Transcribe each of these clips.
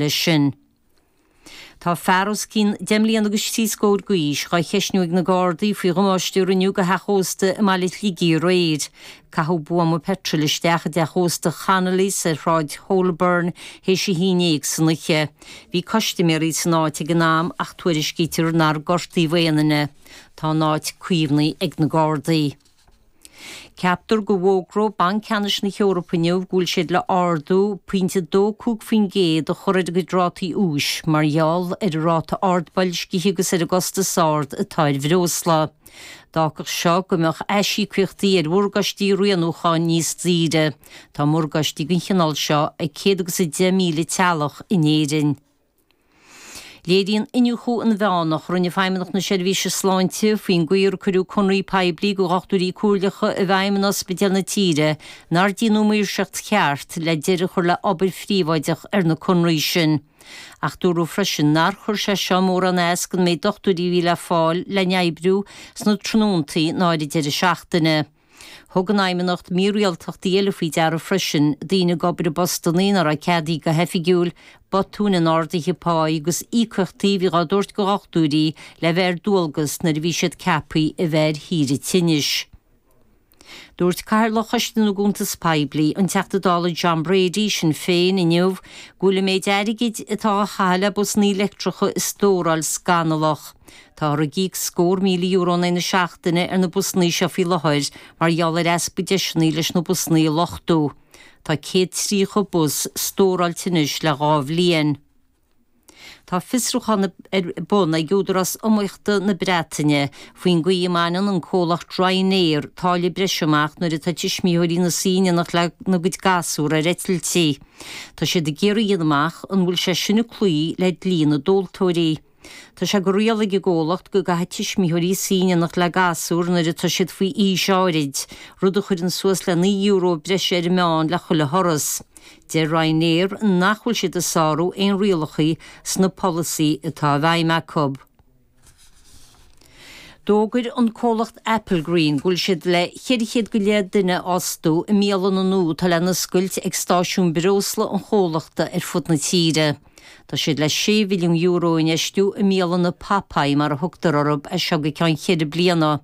Leis sin. Tá fear os cionn 10 mbliana agus thrí scór d'aois dhá cheistniú ag na Gardaí faoi dhamáiste a rinneadh go theach ósta i mbaile Shligigh aréir. Caitheadh buama peitril isteach i dteach ósta Connolly's ar Shráid Holborn théis a haon déag san oíche. Bhí custaiméirí san áit ag an am ach tuairiscítear nár gortaíodh aon duine. Tá an áit caomhnaithe ag na Gardaí. Ceaptar go bhfógróidh Banc Ceannais na hEorpa inniu go bhfuil siad le ardú pointe 2.5% a chur ar a gcuid rátaí úis mar gheall ar an ráta ard boilscithe agus ar an gcostas ard atá ar bhreosla. D'fhágfadh seo go mbeadh aisíocaíochtaí ar mhorgáistí rianúcháin níos daoire. Tá morgáistí den chineál seo ag 110,000 teaghlach in Éirinn. Léiríonn iniúchadh inmheánach a rinne Feidhmeannacht na Seirbhíse Sláinte faoin gcaoi ar cuireadh conarthaí poiblí do dhochtúirí comhairleacha i bhfeidhm in ospidéil na tíre nár déanadh maoirseacht cheart le deireadh a chur le obair phríobháideach ar na conarthaí sin. Ach dúradh freisin nár chuir sé seo mórán as don méid dochtúirí a bhí le fáil le n-oibriú sna tráthnóntaí ná ar an deireadh seachtaine. Thug an Fheidhmeannacht mírialtachtaí eile faoi deara freisin, daoine ag obair i bpostannaí ná raibh ceadaithe go hoifigiúil, botúin in arduithe páí agus íocaíochtaí a bhí dhá dtabhairt go dhochtúirí le bheith ar dualgas nuair a bhí siad ceaptha a bheith ar shaoire tinnis. Dúirt Cathaoirleach Choiste na gCuntas Poiblí, an Teachta Dála John Brady, Sinn Féin, inniu go bhfuil an méid airgid atá á chaitheamh le busannaí leictreacha a stóráil scannalach. Táthar ag íoc scór €1,000 in aghaidh na seachtaine ar na busannaí seo faoi láthair mar gheall ar easpa deiseanna leis na busannaí a luchtú. Tá 130 bus stóráilte anois le 2 bhliain. Tá fiosrúchán ar bun ag Údarás Iomaíochta na Breataine faoin gcaoi a mbaineann an comhlacht Ryanair táille breise amach nuair atá tuismitheoirí ina suí in éineacht lena gcuid gasúr ar eitiltí. Tá siad ag iarraidh a dhéanamh amach an bhfuil sé sin ag cloí le dlí na dtomhaltóirí. Tá sé de riail ag an gcomhlacht go gcaithfidh tuismitheoirí suí in éineacht le gasúr nuair atá siad faoi aois áirid, rud a chuireann suas le €9 breise ar an meán le chuile thuras. Deir Ryanair nach bhfuil siad ag sárú aon rialacha sna polasaí atá i bhfeidhm acu. D'fhógair an comhlacht Applegreen go bhfuil siad le 400 go leith duine a fhostú i mbialanna nua atá le n-oscailt ag stáisiúin breosla an chomhlachta ar fud na tíre. Tá siad le €6 mhilliún a infheistiú i mbialanna Popeye mar a thugtar orthu as seo go ceann cheithre bliana.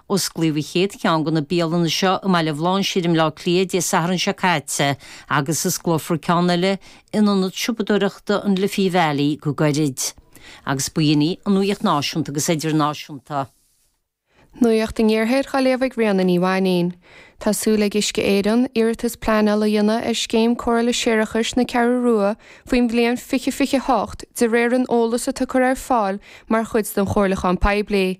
Osclaíodh an chéad cheann de na bialanna seo i mBaile Bhlainséir i mBleá Cliath Dé Sathairn seo caite agus osclófar ceann eile in ionad siopadóireachta an Liffey Valley go gairid. Agus b'in í an nuaíocht náisiúnta agus idirnáisiúnta. Nuacht an Iarthair á léamh ag Ríona Ní Mhainín. Tá súil ag Uisce Éireann iarratas pleanála a dhéanamh ar scéim cóireála séarachais na Ceathrú Rua faoin bhliain 2028 de réir an eolas atá curtha ar fáil mar chuid den chomhairliúchán poiblí.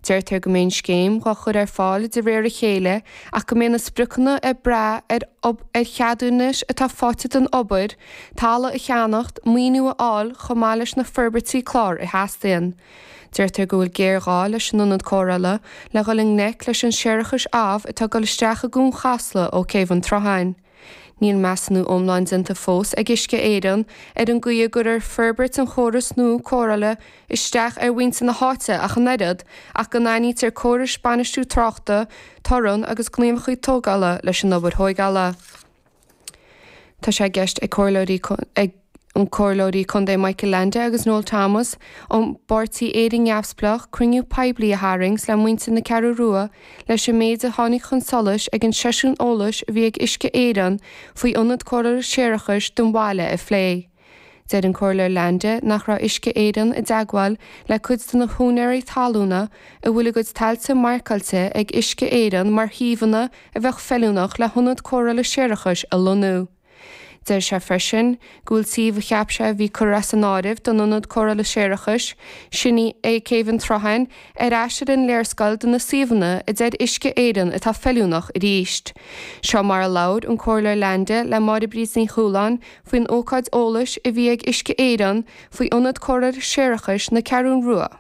Deirtear go mbeidh an scéim dhá chur ar fáil de réir a chéile ach go mbeidh na spriocanna ag brath ar ar cheadúnais atá faighte don obair, talamh a cheannacht, maoiniú a fháil chomh maith leis na forbairtí clár a theastaíonn. Deirtear go bhfuil géarghá leis an ionad cóireála le dhul i ngleic leis an séarachas amh atá ag dul isteach i gCuan Chasla ó Céibh an tSrutháin. Níl measúnú iomlán déanta fós ag Uisce Éireann ar an gcaoi a gcuirfear forbairt an chórais nua cóireála isteach ar mhuintir na háite ach an oiread, ach go n-aithnítear córais bainistiú tráchta, torann agus gníomhaíochtaí tógála leis an obair thóigeála. Tá sé i gceist ag comhairleoirí ag an Comhairleoirí Contae Michael Leainde agus Noel Thomas ón bpáirtí Éire Neamhspleách cruinniú poiblí a tharraingt le muintir na Ceathrú Rua leis an méid a tháinig chun solais ag an seisiún eolais a bhí ag Uisce Éireann faoi ionad cóireála séarachais don bhaile a phlé. Deir an Comhairleoir Leainde nach raibh Uisce Éireann i dteagmháil le cuid de na húinéirí talúna a bhfuil a gcuid tailte marcáilte ag Uisce Éireann mar shuíomhanna a bheadh feiliúnach le hionad cóireála séarachais a lonnú. Deir sé freisin go bhfuil suíomh a cheap sé a bhí curtha as an áireamh don ionad cóireála séarachais, sin é Céibh an tSrutháin, ar ais ar an léarscáil de na suíomhanna a deir Uisce Éireann atá feiliúnach arís. Seo mar a labhair an Comhairleoir Leainde le Máire Bríd Ní Chualáin faoin ócáid eolais a bhí ag Uisce Éireann faoi ionad cóireála séarachais na Ceathrún Rua.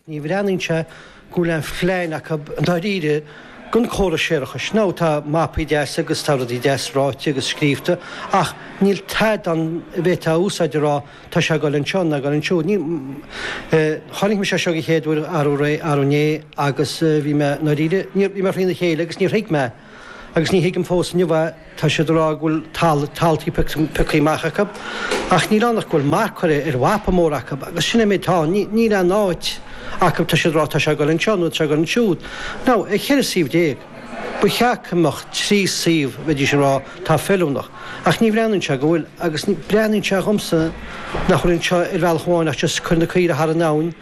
Ní bhreathnaíonn sé go bhfuil aon phlean acu i ndáiríre don chóras séarachais. Now tá mapaí deasa agus tá rudaí deas ráite agus scríobhta ach níl tada ann a bhféadfá a úsáid a rá tá sé ag dul anseo nó ag dul ansiúd. Ní, chonaic mise é seo den chéad uair arú arú inné agus bhí mé i ndáiríre, níor, bhí mé thrína chéile agus níor thuig mé agus ní thuigim fós inniu é. Tá siad ag rá go bhfuil taltaí pioctha amach acu. Ach níl ann ach go bhfuil marc curtha ar mhapa mór acu agus sin é an méid atá ann. Níl aon áit acu, tá siad ag rá tá sé ag dul anseo nó tá sé ag dul ansiúd. Now, ar 14 suíomh, ba cheart go mbeadh 3 suíomh, bheidís ag rá, atá feiliúnach. Ach ní bhreathnaíonn sé go bhfuil agus breathnaíonn sé dhomsa nach bhfuil anseo ar bhealach amháin ach just cur na caoire thar an abhainn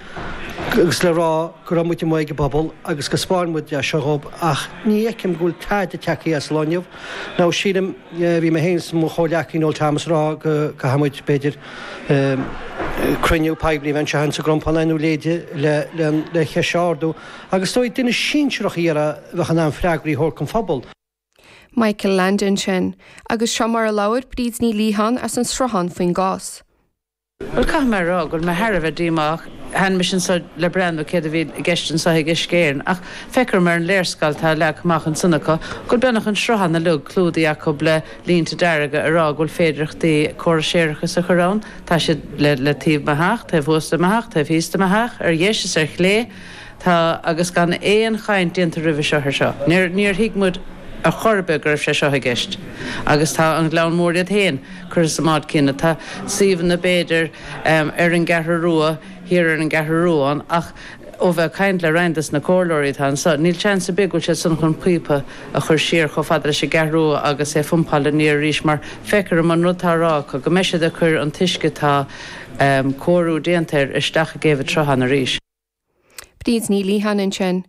agus le rá go raibh muid amuigh ag an bpobal agus go 'spáin muid é seo dhób ach ní fheicim go bhfuil tada tagtha as lá inniu. Now sílim, bhí mé féin is mo chomhghleacaí Noel Thomas ag rá go gcaithfidh muid b'fhéidir cruinniú poiblí a bheith anseo sa gCrompán nó a leithéide le le ceist a ardú agus is dóigh duine sinsearach a iarraidh a bheadh in ann freagraí a thabhairt don phobal. Michael Leainde ansin. Agus seo mar a labhair Bríd Ní Liatháin as an Sruthán faoin gcás. Bhuel, caithfidh mé a rá go bhfuil mé thar a bheith díomách. Tháinig mise anseo le breathnú céard a bhí i gceist anseo ag Uisce Éireann ach feictear dom ar an léarscáil atá leagtha amach ansan acu go bhfuil beagnach an sruthán uilig clúdaithe acu le línte dearga ag rá go bhfuil féidearthachtaí córas séarachais a chur ann. Tá siad le le taobh mo theach, taobh thuas de mo theach, taobh thíos de mo theach, ar dheis is ar chlé. Tá, agus gan aon chaint déanta roimhe seo ar seo. Níor, níor thuig muid ar chor ar bith go raibh sé seo i gceist. Agus tá an Gleann Mór iad féin curtha sa mbád céanna. Tá suíomhanna b'fhéidir ar an gCeathrú Rua, thiar ar an gCeathrú Rua ann ach ó bheith ag caint le roinnt des na comhairleoirí atá anseo, níl seans ar bith go bhfuil siad san chun píopa a chur siar chomh fada leis an gCeathrú Rua agus é a phumpáil aniar arís mar feictear dom an rud atá á rá acu go mbeidh siad ag cur an t-uisce atá cóiriú déanta air isteach i gCéibh an tSrutháin arís. Bríd Ní Liatháin ansin.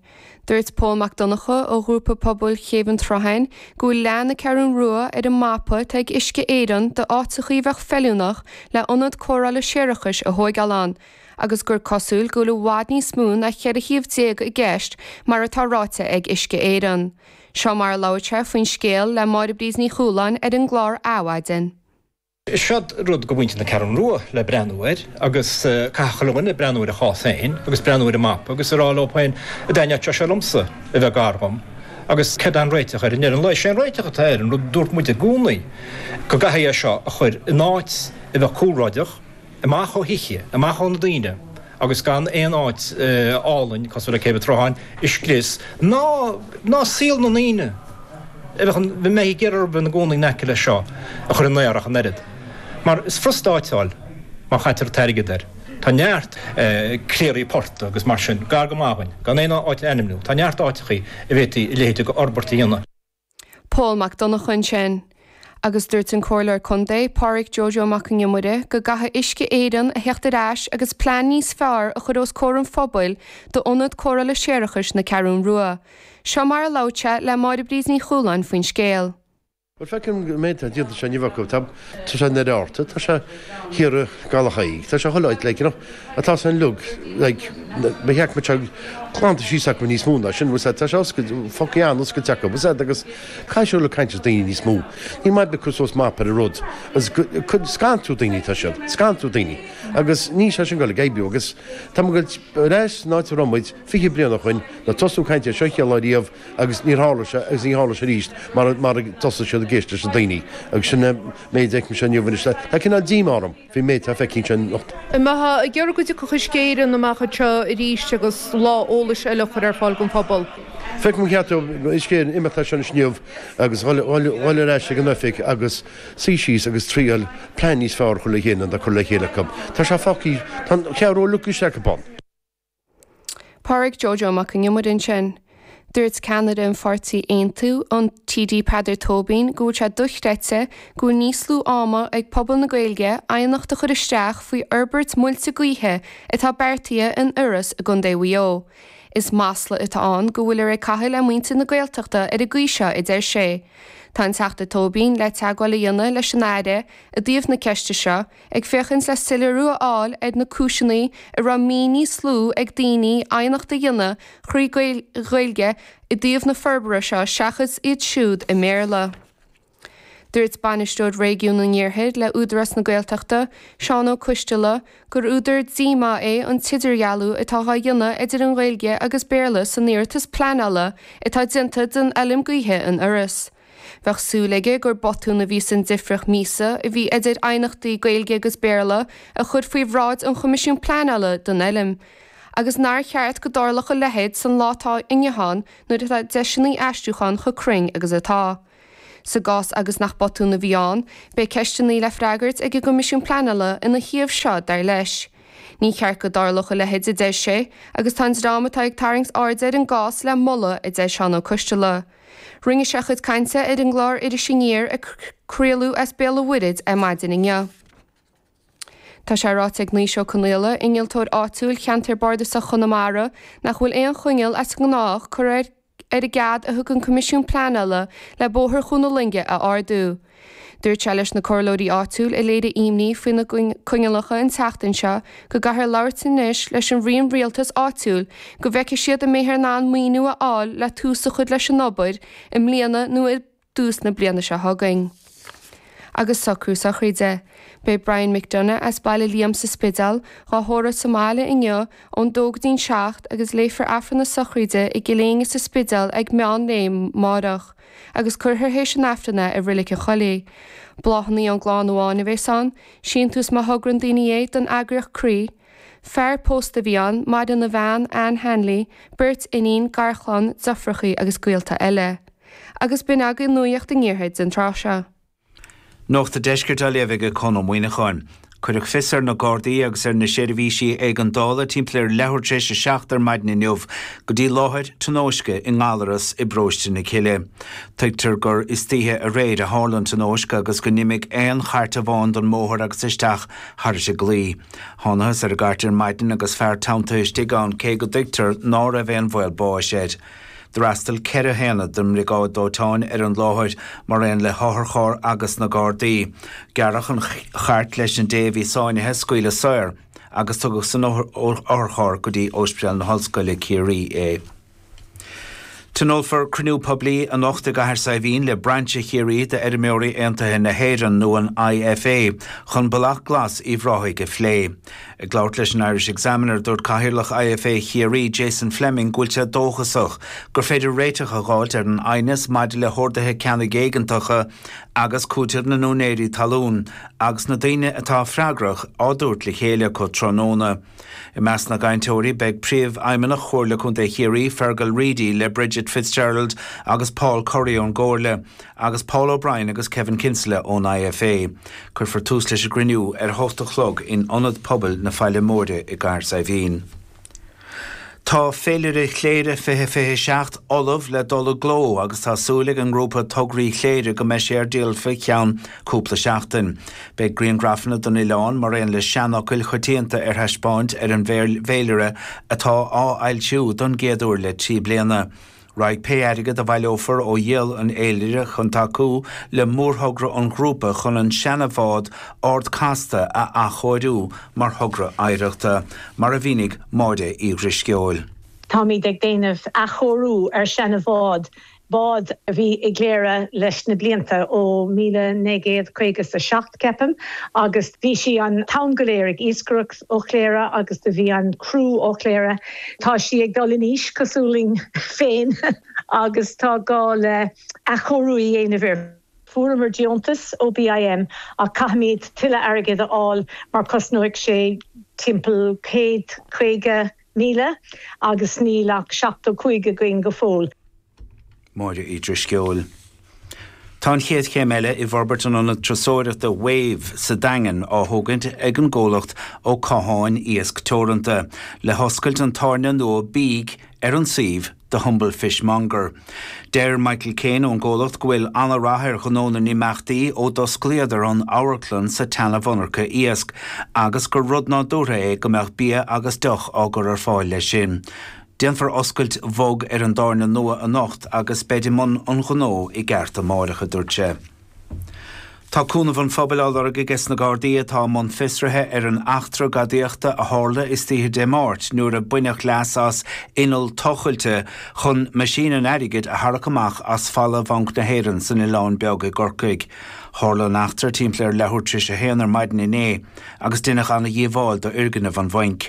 Dúirt Pól Mac Donncha ó Ghrúpa Pobail Chéibh an tSrutháin go bhfuil leath na Ceathrún Rua ar an mapa atá ag Uisce Éireann d'áiteachaí a bheadh feiliúnach le ionad cóireála séarachais a thóigeáil ann agus gur cosúil go bhfuil i bhfad níos mó ná 14 shuíomh i gceist mar atá ráite ag Uisce Éireann. Seo mar a labhair sé faoin scéal le Máire Bríd Ní Chualáin ar an gclár Adhmhaidin. Seod rud go mhuintir na Ceathrún Rua le breathnú air agus caithfidh chuile dhuine breathnú ar a chás féin agus breathnú ar an mapa agus a rá leo féin an dtaitneodh sé seo liomsa a bheith gar dhom agus céard é an réiteach air i ndeireadh an lae. Sé an réiteach atá air an rud a dúirt muid i gcónaí go gcaithfidh é seo a chur in áit a bheadh cúlráideach, amach ó thithe, amach ó na daoine agus gan aon áit álainn cosúil le Céibh an tSrutháin a scrios ná ná saol na ndaoine a bheadh a mbeidh ag iarraidh a bheith ina gcónaí in aice leis seo a chur i mbaol ach an oiread. Mar is furasta áiteáil má chaitear an t-airgead air. Tá neart cléirí portaigh agus mar sin gar go maith dhúinn, gan aon áit a ainmniú. Tá neart áiteachaí a bhféadfaí a leithéid de fhorbairt a dhéanamh. Pól Mac Donncha ansin. Agus dúirt an Comhairleoir Contae, Pádhraic Joe Joe Mac an Iomaire, go gcaithfidh Uisce Éireann a theacht ar ais agus plean níos fearr a chur os comhair an phobail d'Ionad Cóireála Séarachais na Ceathrún Rua. Seo mar a labhair sé le Máire Bríd Ní Chualáin faoin scéal. Bhuel, feicim an méid atá déanta anseo inniu acu. Tá sé in Doire Fhatharta, tá sé thiar i gCaladh tá sé chuile áit, like, you know, atá san uilig, like, ba cheart go mbeadh sé glanta síos acu níos mó ná sin, bhfuil 's a'd, tá sé oscailte, fágtha an-oscailte acu, bhfuil 's a'd, agus caithfidh siad le caint le daoine níos mó. Ní maith bith cur suas mapa ar an rud, agus scanrú daoine atá siad, scanrú daoine, agus níl sé sin ag dul ag oibriú, agus tá muid ag dul ar ais san áit a raibh muid 20 bliain ó shoin, nuair a tosnú caint ar seo chéad lá riamh, Agus níor tharla sé agus ní tharla sé arís mara mara dtosaigh siad ag éisteacht leis na daoine. Agus sin an méid a fheicimse inniu anois. Tá cineál díomá orm faoin méid atá feicthe anseo anocht. An mbeifeá ag iarraidh go dtiocfadh Uisce Éireann amach anseo arís agus lá eolais eile a chur ar fáil don phobal? Feicim gur cheart do Uisce Éireann imeacht as seo anois inniu agus dhul ar ais ag an oifig agus suí síos agus triail plean níos fearr a chur le chéile ná atá curtha le chéile acu. Tá sé fágtha, tá an Cheathrú Rua uilig istigh acu ann. Pádhraic Joe Joe Mac an Iomaire ansin. Dúirt ceannaire an pháirtí Aontú, an TD Peadar Tóibín, go bhfuil sé dochreidte go bhfuil níos lú ama ag pobal na Gaeilge aighneacht a chur isteach faoi fhorbairt muilte gaoithe atá beartaithe in Iorras i gContae Mhaigh Eo. Is masla atá ann go bhfuilear ag caitheamh le muintir na Gaeltachta ar an gcaoi seo, a deir sé. Tá an Teachta Tóibín le teagmháil a dhéanamh leis an Aire i dtaobh na ceiste seo, ag féachaint le soiléiriú a fháil ar na cúiseanna a raibh mí níos lú ag daoine aighneacht a dhéanamh thrí Ghaeilge i dtaobh na forbartha seo seachas iad siúd i mBéarla. Dúirt Bainisteoir Réigiún an Iarthair le Údarás na Gaeltachta, Seán Ó Coisteala, gur údar díomá é an t-idirdhealú atá á dhéanamh idir an Ghaeilge agus Béarla san iarratas pleanála atá déanta don fheilm gaoithe in Iorras. Bheadh súil aige gur botún a bhí san difríocht míosa a bhí idir aighneachtaí Gaeilge agus Béarla a chur faoi bhráid an Choimisiúin Pleanála don fheilm, agus nár cheart go dtarlódh a leithéid san lá atá inniu ann nuair atá deiseanna aistriúcháin chomh cruinn agus atá. Sa gcás agus nach botún a bhí ann, beidh ceisteanna le freagairt ag an gCoimisiún Pleanála ina thaobh seo, dar leis. Ní cheart go dtarlódh a leithéid, a deir sé, agus tá an dream atá ag tarraingt airde ar an gcás le moladh, a deir Seán Ó Coistealbha. Rinne sé a chuid cainte ar an gclár Iris Aniar a craoladh as Béal an Mhuirthead ar maidin inniu. Tá sé ráite ag Naoise Ó Conaola, innealtóir áitiúil cheantar bardasach Chonamara, nach bhfuil aon choinníoll as an ngnách curtha ar ar an gcead a thug an Coimisiún Pleanála le Bóthar Chuan na Loinge a ardú. Dúirt sé leis na comhairleoirí áitiúil a léirigh imní faoi na coinníollacha an tseachtain seo go gcaithfear labhairt anois leis an roinn rialtais áitiúil go bhfeicfidh siad an mbeifear in ann maoiniú a fháil le tús a chur leis an obair i mbliana nó i dtús na bliana seo chugainn. Agus socrú sochraide. Beidh Brian McDonagh as Baile Liam sa Spidéal dhá thórramh sa mbaile inniu ón dó go dtí'n 7 agus léifear Aifreann na sochraide i gCill Éinne sa Spidéal ag meán lae máireach agus cuirfear théis an Aifrinn é i Reilig an Choilligh. Bláthanna ón gclann amháin a bhéas ann, síntiús má thogrann daoine é don eagraíocht Croí. Fear pósta a bhí ann, maireann a bhean, Anne Hanley, beirt iníon, garchlann, deirfiúrachaí agus gaolta eile. Agus b'in agaibh Nuacht an Iarthair den tráth seo. Nuacht an Deiscirt á léamh ag Conn Ó Muíneacháin. Cuireadh fios ar na Gardaí agus ar na seirbhísí éigeandála timpeall ar leathuair tar éis a 7 ar maidin inniu go dtí láthair tionóisce i nGallaras i bparóiste na Cille. Tuigtear gur istoíche aréir a tharla an tionóisc agus go n-imigh aon chairt amháin den mbóthar agus isteach thairis an gclaí. Thánathas ar an gcairt ar maidin agus fear teanntaithe istigh ann cé go dtuigtear ná raibh aon bhaol báis air. D'fhreastail 4 haonad den mBriogáid Dóiteáin ar an láthair, mar aon le hotharcharr agus na Gardaí. Gearradh an chairt leis an dté a bhí sáinnithe a scaoileadh saor agus tugadh san otharcharr go dtí Ospidéal na hOllscoile, Ciarraí é. Tionólfar cruinniú poiblí anocht i gCathair Saidhbhín le Brainse Chiarraí d'Fheirmeoirí Aontaithe na hÉireann, nó an IFA, chun Bealach Glas Uíbh Ráthaigh a phlé. Ag labhairt leis an Irish Examiner, dúirt Cathaoirleach IFA Chiarraí, Jason Fleming, go bhfuil sé dóchasach gur féidir réiteach a dh'fháilt ar an aighneas maidir le horduithe ceannaigh éigeantacha agus cúiteamh na n-úinéirí talún agus na daoine atá freagrach á dtabhairt le chéile acu tráthnóna. I measc na gcainteoirí beidh Príomhfheidhmeannach Chomhairle Contae Chiarraí, Fergal Reidy, le Bridget Fitzgerald agus Paul Curry ón gComhairle, agus Paul O'Brien agus Kevin Kinsella ón IFA. Cuirfear tús leis an gcruinniú ar a hocht a chlog in Ionad Pobail na Faille Móire i gCathair Saidhbhín. Tá Féilire Chléire 2027 ullamh le dul i gcló agus tá súil ag an ngrúpa Tograí Chléire go mbeidh sé ar díol faoi cheann cúpla seachtain. Beidh grianghrafanna den oileán mar aon le seanfhocail choitianta ar thaispeáint ar an bhféilire atá á fhoilsiú don gcéad uair le 3 bliana. Raghaidh pé airgead a bhaileofar ó dhíol an fhéilire chun tacú le mórthogra an ghrúpa chun an seana-bhád Ard Casta a athchóiriú mar thogra oidhreachta, mar a mhínigh Máire Uí Dhrisceoil. Táimid ag déanamh athchóiriú ar seana-bhád, bád a bhí i gCléire leis na blianta, ó 1957 ceapaim, agus bhí sí an t-am go léir ag iascaireacht ó Chléire agus do bhí an criú ó Chléire. Tá sí ag dul in aois, cosúil linn féin, agus tá gá le athchóiriú a dhéanamh air. Fuaireamar deontas ó BIM ach caithfimid tuilleadh airgid a fháil mar cosnóidh sé timpeall 150,000 agus níl ach 75 againn go fóill. Máire Uí Drisceoil. Tá an chéad chéim eile i bhforbairt an ionad turasóireachta Wave sa Daingean á thógaint ag an gcomhlacht Ó Catháin Iasc Teoranta, le hoscailt an tábhairne nua bídh ar an suíomh The Humble Fishmonger. Deir Michael Kane ón gcomhlacht go bhfuil an-rath ar ghnó na n-imeachtaí ó d'osclaíodar an amharclann sa tseana-mhonarcha iasc agus gur rud nádúrtha é go mbeadh bia agus deoch á gcur ar fáil leis sin. Déanfar oscailt bhog ar an dtábhairne nua anocht agus beid i mbun an ghnó i gceart amáireach, a dúirt sé. Tá cúnamh an phobail á lorg aige sna Gardaí atá i mbun fiosraithe ar an eachtra gadaíochta a tharla istoíche Dé Máirt nuair a baineadh leas as inneall tochailte chun meaisín an airgid a tharrac amach as falla Bhanc na hÉireann san Oileán Beag i gCorcaigh. Tharla an eachtra timpeall ar leathuair tar éis a haon ar maidin inné agus deineadh ana-dhíobháil d'fhoirgneamh an bhainc.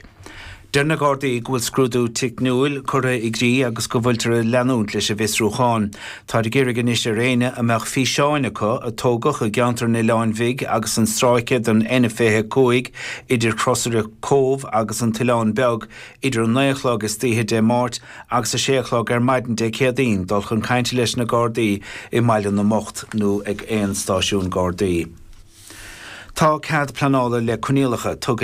Deir na Gardaí go bhfuil scrúdú teicniúil curtha i gcrích agus go bhfuiltear ag leanúint leis an bhfiosrúchán. Táthar ag iarraidh anois ar éinne a mbeadh físeáin acu a tógadh i gceantar an Oileáin Bhig agus an stráice den N25 idir Crosaire Cóbh agus an tOileán Beag idir a 9 a chlog istoíche Dé Máirt agus a 6 a chlog ar maidin Dé Céadaoin dul chun cainte leis na Gardaí i mBaile na mBocht nó ag aon stáisiún Gardaí. Tá cead pleanála le coinníollacha tugtha.